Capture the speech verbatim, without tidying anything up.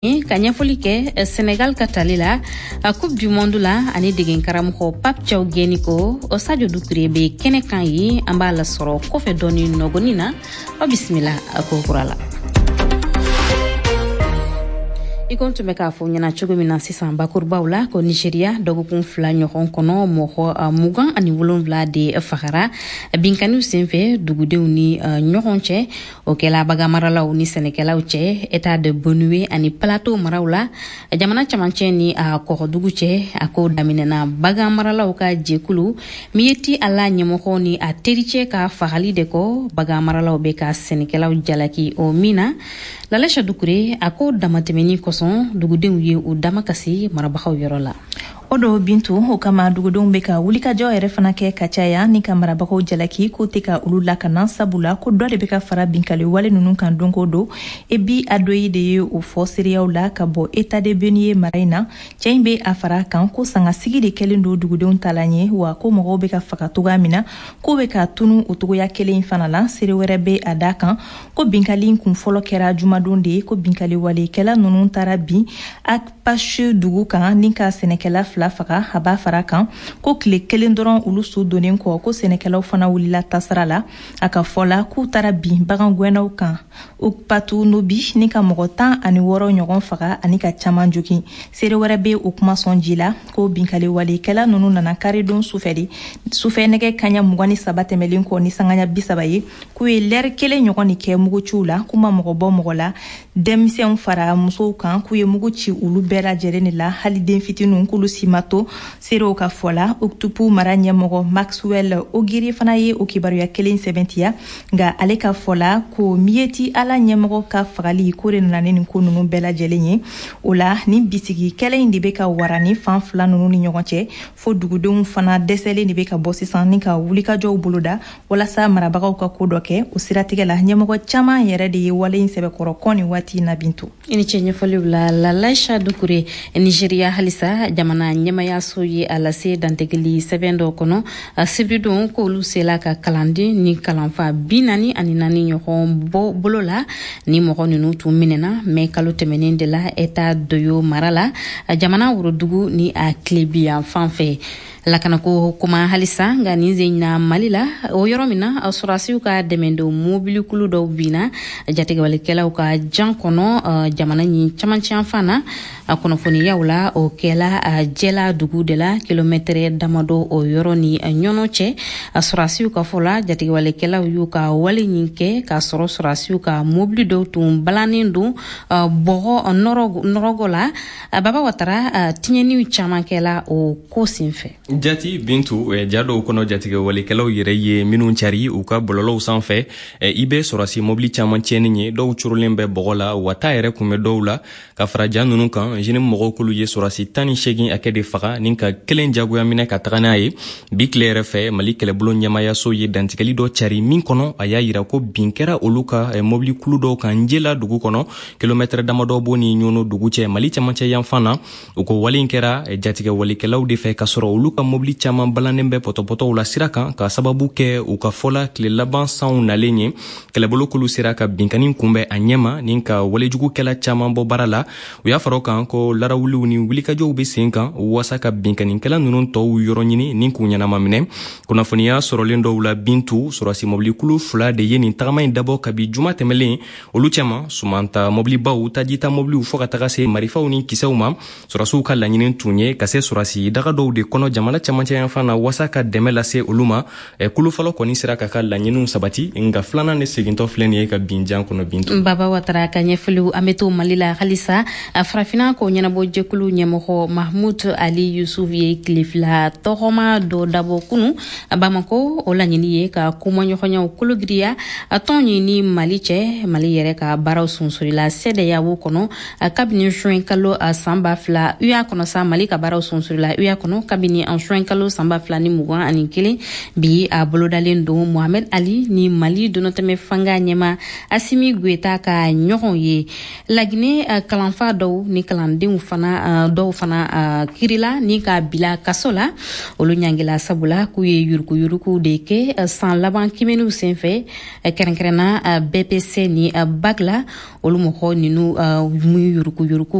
Ka ɲɛfɔli kɛ Senegal ka tali la Coupe du monde la ani degen karamɔgɔ Pape Thiaw gɛnni ko, o Sadio Dukure bɛ kɛnɛ kan ye, an b'a lasɔrɔ kɔfɛ dɔɔni nɔgɔni na. Aw bisimila a ko kura la. I ko n tun bɛ k'a fɔ ɲɛna cogo min na sisan bakurubaw la, ko Nigeria, dɔgɔkun fila ɲɔgɔn kɔnɔ, mɔgɔ mugan ani wolonwula de fagara binkaniw senfɛ dugudenw ni ɲɔgɔn cɛ. O kɛla baganmaralaw ni sɛnɛkɛlaw cɛ État de Benue ani Plateau maraw la, jamana camancɛ ni a kɔgɔdugu cɛ. A ko daminɛna baganmaralaw ka jɛkulu Miyetti Ala ɲɛmɔgɔ ni a tericɛ ka fagali de kɔ. Baganmaralaw bɛ ka sɛnɛkɛlaw jalaki o min na, Lalɛsa Dukure, a ko damatɛmɛni kosɔn, dugudenw ye u damakasi marabagaw yɔrɔ la. O do, Bintu. O kama dugudenw bɛ ka wulikajɔ yɛrɛ fana kɛ ka caya ni ka marabagaw jalaki k'o tɛ ka olu lakana, sabula ko dɔ de bɛ ka fara binkali wale ninnu kan don o don. Ebi Adoyi de ye o fɔ seereyaw la ka bɔ État de Benue mara in na. Cɛ in bɛ a fara kan ko sangasigi de kɛlen don dugudenw ta la ɲɛ, wa ko mɔgɔw bɛ ka faga togoya min na, k'o bɛ ka tunu o togoya kelen in fana la. Seere wɛrɛ bɛ a da kan ko binkali kun fɔlɔ kɛra jumadon de ye, ko binkali walekɛla ninnu taara bin Akpasu dugu kan ni ka sɛnɛkɛla fila faga. A b'a fara kan ko tile kelen dɔrɔn olu su donnen kɔ, ko sɛnɛkɛlaw fana wulila tasara la. A ka fɔ la, k'u taara bin bagan gɛnnaw kan Okpatu Nobi ni ka mɔgɔ tan ani wɔɔrɔ ɲɔgɔn faga ani ka caman jogin. Seere wɛrɛ bɛ o kuma sɔn ji la ko binkali walekɛla ninnu nana karidon sufɛ de, sufɛ nɛgɛ kaɲa mugan ni saba tɛmɛlen kɔ ni sangaɲa bi saba ye, k'u ye lɛri kelen ɲɔgɔn de kɛ muguciw la, k'u ma mɔgɔ bɔ mɔgɔ la, denmisɛnw fara musow kan, k'u ye mugu ci olu bɛɛ lajɛlen de la, hali den fitininw, k'olu si ma to, seerew ka fɔ la. Okutupu mara ɲɛmɔgɔ Maxwell Ogiri fana ye o kibaruya kelen sɛbɛntiya, nka ale ka fɔ la ko Miyetti Ala ɲɛmɔgɔ ka fagali ko de nana ni nin ko ninnu bɛɛ lajɛlen ye. O la, nin bisigi kɛlɛ in de bɛ ka wara ni fan fila ninnu ni ɲɔgɔn cɛ, fo dugudenw fana dɛsɛlen de bɛ ka bɔ sisan ni ka wulikajɔw boloda walasa marabagaw ka ko dɔ kɛ. O siratigɛ la, ɲɛmɔgɔ caman yɛrɛ de ye wale in sɛbɛkɔrɔ kɔn nin waati na, Bintu. I ni ce ɲɛfɔliw la, Lalaisha Dukure. Nigeria halisa, jamana ɲɛmayaso ye a lase dantigɛli sɛbɛn dɔ kɔnɔ sibiridon k'olu sela ka kalanden ni kalanfa bi naani ani naani ɲɔgɔn bɔ bolo la. Ni mɔgɔ ninnu tun minɛna mɛ kalo tɛmɛnen de la État d'Oyo mara la, jamana worodugu ni a tilebiyan fan fɛ. Lakanako kuma halisa, nka nin sen na Mali la, o yɔrɔ min na sɔrɔdasiw ka dɛmɛdon mobilikulu dɔw binna jatigɛwalikɛlaw ka jan kɔnɔ jamana ɲi camancɛ fan na. Kunnafoniyaw la, o kɛla Jɛla dugu de la, kilomɛtɛrɛ damadɔ o yɔrɔ ni Ɲɔnɔ cɛ. Sɔrɔdasiw ka fɔ la, jatigɛwalikɛlaw y'u ka wale ɲin kɛ k'a sɔrɔ sɔrɔdasiw ka mobili dɔw tun balannen don bɔgɔ nɔrɔgɔ la. Baba Watara, tiɲɛniw caman kɛla o ko senfɛ. Jati Bintu, ja dɔw kɔnɔ, jatigɛwalikɛlaw yɛrɛ ye minnu cari u ka bɔlɔlɔw sanfɛ, i bɛ sɔrɔsi mobili caman tiɲɛni ye, dɔw curulen bɛ bɔgɔ la, wa ta yɛrɛ kun bɛ dɔw la. Ka fara ja ninnu kan, J N I M mɔgɔw k'olu ye sɔrɔsi tan ni seegin hakɛ de faga ni ka kelen jagoya minɛ ka taga n'a ye. Bi tile yɛrɛ fɛ, Mali kɛlɛbolo ɲɛmayaso ye dantigɛli dɔ cari min kɔnɔ a y'a yira ko bin kɛra olu ka mobili kulu dɔw kan Njela dugu kɔnɔ, kilomɛtɛrɛ damadɔ b'o ni Ɲɔnɔ dugu cɛ, Mali camancɛ yanfan na. U ko wale in kɛra jatigɛwalikɛlaw de fɛ, k'a sɔrɔ olu ka mobili caman balannen bɛ pɔtɔpɔtɔw la sira kan, ka sababu kɛ u ka fɔla tile laban sanw nalen ye. Kɛlɛbolo kulu sera ka binkani kunbɛn a ɲɛma ni ka walejugukɛla caman bɔ baara la. U y'a fara o kan ko larawuliw ni wulikajɔw be sen kan waasa ka binkanikɛla ninnu tɔw yɔrɔ ɲini ni k'u ɲɛnama minɛ. Kunnafoniya sɔrɔlen dɔw la, Bintu, sɔrɔsi mɔbilikulu fila de ye nin tagama in dabɔ kabi juma tɛmɛlen. Olu cɛma, sumanta mɔbilibaw, tajita mɔbiliw, fɔɔ ka taga se marifaw ni kisɛw ma. Sɔrɔsiw ka laɲini tun ye ka se sɔrɔsi daga dɔw de kɔnɔ jamana camancɛ yanfan na waasa ka dɛmɛ lase olu ma. Kulu fɔlɔ kɔni sera ka ka laɲiniw sabati, nka filanan de segintɔ filɛ nin ye ka bin jan kɔnɔ, Bintu. Baba Watara ka ɲɛfɔliw. An bɛ to Mali la halisa. Farafinna ko ɲɛnabɔ jɛkulu ɲɛmɔgɔ Mahmud Ali Yusuf ye tile fila tɔgɔma dɔ dabɔ kunu Bamako. O laɲini ye ka kumaɲɔgɔnyaw kologiriya tɔn ɲi ni Mali cɛ. Mali yɛrɛ ka baaraw sunsurila C E D E A O kɔnɔ kabini juin kalo san ba fila U E A kɔnɔ sa. Mali ka baaraw sunsurila U E A kɔnɔ kabini juin kalo san ba fila ni mugan ani kelen. Bi a bolodalen don Mohamed Ali ni Mali donatɛmɛ fanga ɲɛma Asimi Goyita ka ɲɔgɔn ye. Lagine, kalanfa dɔw ni kalandenw fana dɔw fana kirila ni ka bila kaso la. Olu ɲangila sabula k'u ye yurukuyuruku de kɛ san laban kimɛniw senfɛ, kɛrɛnkɛrɛnna B P C ni bac la. Olu mɔgɔ ninu mu yurukuyuruku.